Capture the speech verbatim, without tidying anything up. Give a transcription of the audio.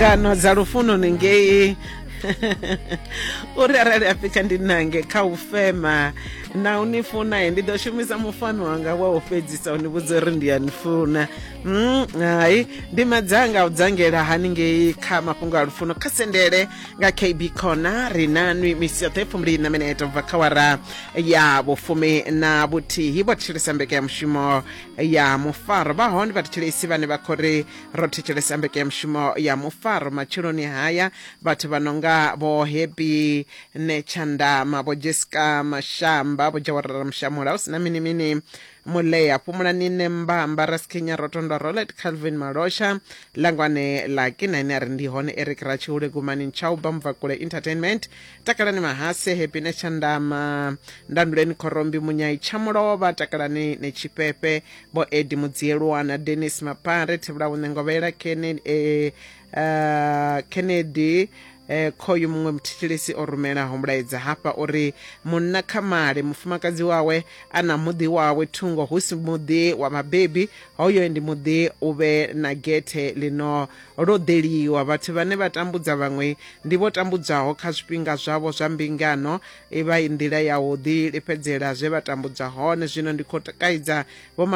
Ngano dza lufuno ni ngei uri arali a fika ndi nange kha u fema na u ni funa, ndi ḓo shumisa mufano wanga wa u fhedzisa u ni vhudza uri ndi a ni funa. Mm, hai ndi madzanga u dzangela haningei kha mafhungo a lufuno kha sendele nga K B Corner. Ri nanwi misi yoṱhe fumbili na minete ubva kha wara ya vhufumi na vhuthihi. Vho thetshelesa mbekanyamushumo ya mufaro, vha hone vhathetshelesi vhane vha khou ri ro thetshelesa mbekanyamushumo ya mufaro matsheloni haya, vhathu vha no nga vho Happy Netshandama, vho Jessica Mashamba, vho Jawarara Mushamula, hu sina mini mini Mulea, Fhumulani Nembamba, Raskenya Rotondo, Rolet Calvin Malosha, Langwane Laki na ine a ri ndi hone, Eric Ratshihule, Gumani Nchauba, Mubvakule Entertainment, Takalani Mahase, Happy Netshandama, Ndanduleni Khorombi, Munyai Tshamulovha, Takalani Netshifhefhe, vho Edi Mudzielwana, Dennis Mapare, Thevhula Ngovhela, Kennedy, eh, uh, Kennedy eh, khoyu muṅwe muthetshelesi o rumelaho mulaedza hafha uri munna kha male mufumakadzi wawe a na muḓi wawe thungo, hu si muḓi wa vhabebi, hoyo ndi muḓi u vhe na gethe lino loḓeliwa. Vhathu vhane vha tambudza vhaṅwe ndi vho tambudzwaho kha zwifhinga zwavho zwa mbingano, i vha i nḓila ya u ḓi lifhedzela zwe vha tambudzwa hone. Zwino ndi khou kaidza vho